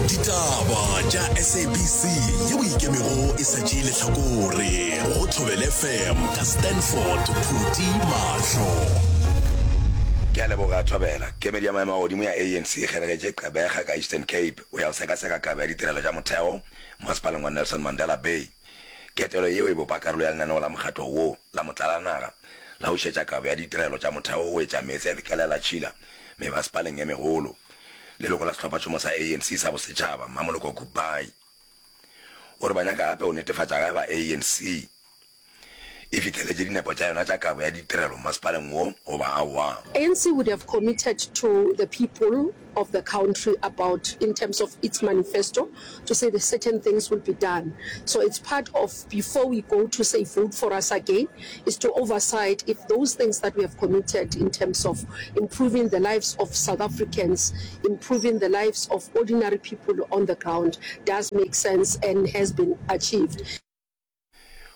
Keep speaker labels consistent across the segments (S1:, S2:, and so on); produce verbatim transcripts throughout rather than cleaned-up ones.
S1: Ditaba tša S A B C yeo ikemego e sa tšee lehlakore go Thobela F M ka Stanford Phuti Mahlo.
S2: Ke a leboga, Thobela. Kemedi ya maemo a godimo ya A N C e kgeregetše Gqeberha ka Eastern Cape go ya go sekaseka kabo ya ditirelo tša motheo masepaleng wa Nelson Mandela Bay. Ketelo yeo e bopa karolo ya lenaneo la mokgatlo wo la motlalanaga la go šetša kabo ya ditirelo tša motheo go etša meetse le kelelatšhila mebasepaleng e megolo. Leloko la sehlophatšhomo sa A N C sa bosetšhaba, Mmamoloko Kubayi, o re ba nyaka gape go netefatša ge eba A N C e fihleletše dinepo tša yona tša kabo ya ditirelo masepaleng wo goba aowa.
S3: A N C would have committed to the people of the country about, in terms of its manifesto, to say that certain things will be done. So it's part of, before we go to say vote for us again, is to oversight if those things that we have committed in terms of improving the lives of South Africans, improving the lives of ordinary people on the ground, does make sense and has been achieved.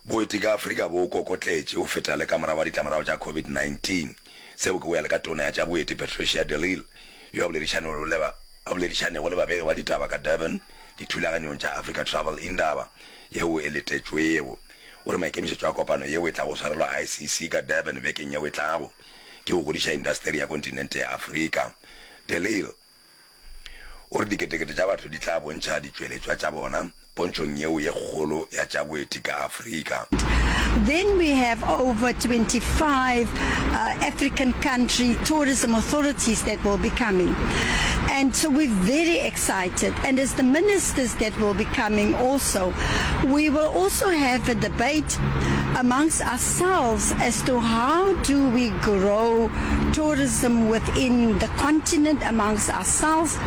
S2: Boeti ka Afrika bo kokotletše go feta le ka morago ga ditlamorago tša COVID nineteen. Seo ke go ya le ka tona ya tša boeti Patricia de Lille, yo a boledišanego le ba a boledišanego le babegi ba ditaba ka Durban dithulaganyong tša Africa Travel Indaba yeo e letetšwego. O re maikemišetšo a kopano yeo e tlago swarelwa I C C ka Durban bekeng yeo e tlago ke go godiša indasteri ya kontinente ya Afrika. De Lille o re diketekete tša batho di tla bontšha ditšweletšwa tša bona pontšhong yeo ye kgolo ya tša boeti ka Afrika.
S4: Then we have over twenty-five uh, African country tourism authorities that will be coming. And so we're very excited. And as the ministers that will be coming also, we will also have a debate amongst ourselves as to how do we grow tourism within the continent amongst ourselves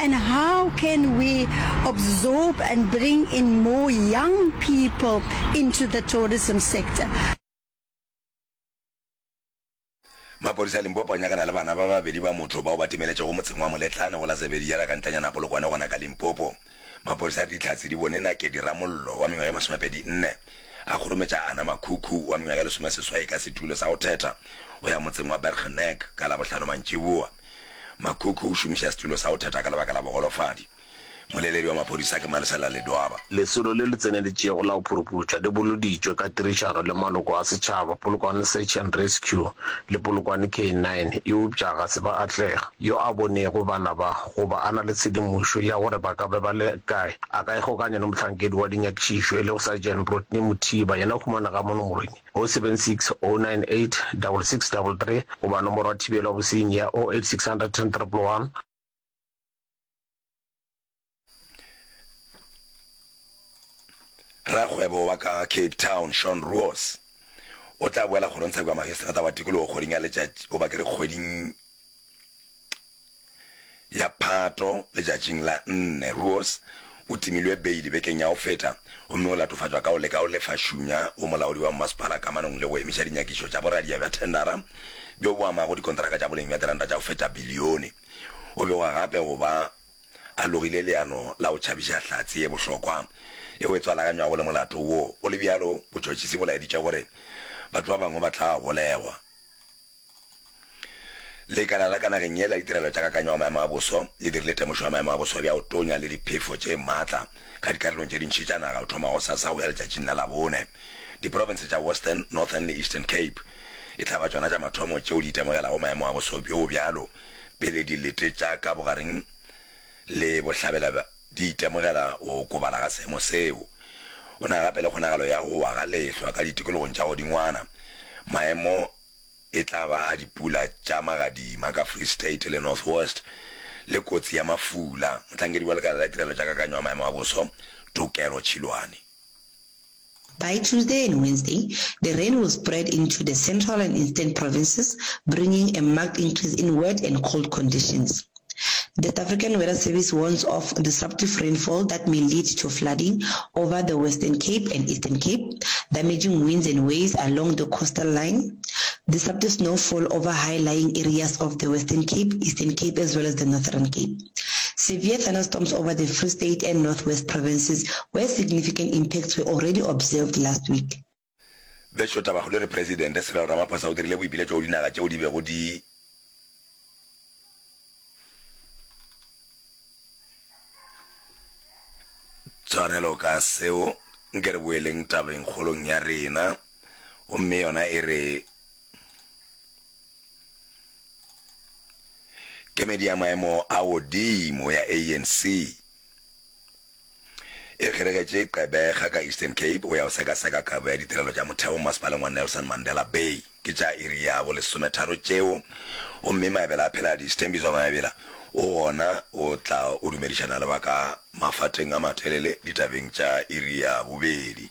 S4: and how can we absorb and bring in more young people into the tourism sector.
S2: Maphodisa a Limpopo a nyakana le bana ba babedi ba motho bao ba timeletšego motseng wa Moletlane go la Zebediela ka ntlenyana Polokwane gona ka Limpopo. Maphodisa a re dihlatse di bone Nakedi Ramollo wa mengwaga e masomepedi nne a kgorometša Ana Makhukhu wa mengwaga e lesomeseswai ka setulo sa go thetha go ya motseng wa Bergnek ka Labohlano mantšiboa. Makhukhu o šomiša setulo sa go thetha ka lebaka la bogolofadi. Moleledi wa maphodisa ke Malesela Ledwaba.
S5: Lesolo le le tseneletšego la go phuruphutša le boloditšwe ka tirišano le maloko a setšhaba, Polokwane Search and Rescue le Polokwane K nine, eupša ga se ba atlega. Yo a bonego bana ba goba a na le tshedimošo ya gore ba ka be ba le kae, a ka ikgokanya le mohlankedi wa dinyakišišo e lego Sergeant Rodney Mothiba, yena o humanega mo nomorong oh seven six oh nine eight six six three three goba nomoro ya thibelo ya bosenyi ya oh eight six hundred ten one one.
S2: Rakgwebo wa ka Cape Town Sean Roos o tla boela kgorongtsheko ya magistrata wa tikologo kgweding ya letšatši goba ke re kgweding ya Phato letšatšing la nne. Roos o timilwe beili bekeng ya go feta gomme o latofatšwa ka go leka go lefa šunya go molaodi wa mmasepala kamanong le go emiša dinyakišo tša boradia bja thendara bjo bo amago dikontraka tša boleng bja diranta tša go feta bilione. O begwa gape go ba a logile leano la go tšhabiša hlatse ye bohlokwa yeo e tswalaganywago le molato wo. Go le bjalo, botšhotšhisi bo laeditše gore batho ba bangwe ba tla golegwa. Lekala la ka nageng ye la ditirelo tša kakanyo ya maemo a boso le dirile temošo ya maemo a boso bja go tonya le diphefo tše maatla ka dikarolong tše dintši tša naga go thoma gosasa go ya letšatšing la Labone. Diprofense tša Western, Northern le Eastern Cape e tla ba tšona tša mathomo tšeo di itemogelago maemo a boso bjo bjalo pele dilete tša ka bogareng le bohlabela di itemogela go okobala ga seemo seo. Go na gape le kgonagalo ya go wa ga lehlwa ka ditikologong tša godingwana. Maemo e tla ba a dipula tša magadima ka Free State le North West le kotsi ya mafula. Mohlankedi wa lekala la ditirelo tša kakanyo ya maemo a boso, Tokelo Tšhilwane.
S6: By Tuesday and Wednesday, the rain will spread into the central and eastern provinces, bringing a marked increase in wet and cold conditions. The South African Weather Service warns of disruptive rainfall that may lead to flooding over the Western Cape and Eastern Cape, damaging winds and waves along the coastal line, disruptive snowfall over high-lying areas of the Western Cape, Eastern Cape as well as the Northern Cape. Severe thunderstorms over the Free State and Northwest provinces where significant impacts were already observed last week.
S2: Bešo tabakgolo e re Presidente Cyril Ramaphosa o dirile boipiletšo go dinaga tšeo di bego di Tshwarelo ka seo, nke re boeleng tabeng kgolong ya rena. Gomme yona e re, Kemedi ya maemo a godimo ya ANC e kgeregetše Gqeberha ka Eastern Cape go ya go sekaseka kabo ya ditirelo tša motheo masepaleng wa Nelson Mandela Bay. Ke tša iri ya bolesometharo tšeo, gomme Maebela a Pheladi, Sthembiso Maebela, o gona o tla o dumedišana le ba ka mafateng a matelele ditabeng tša iri ya bobedi.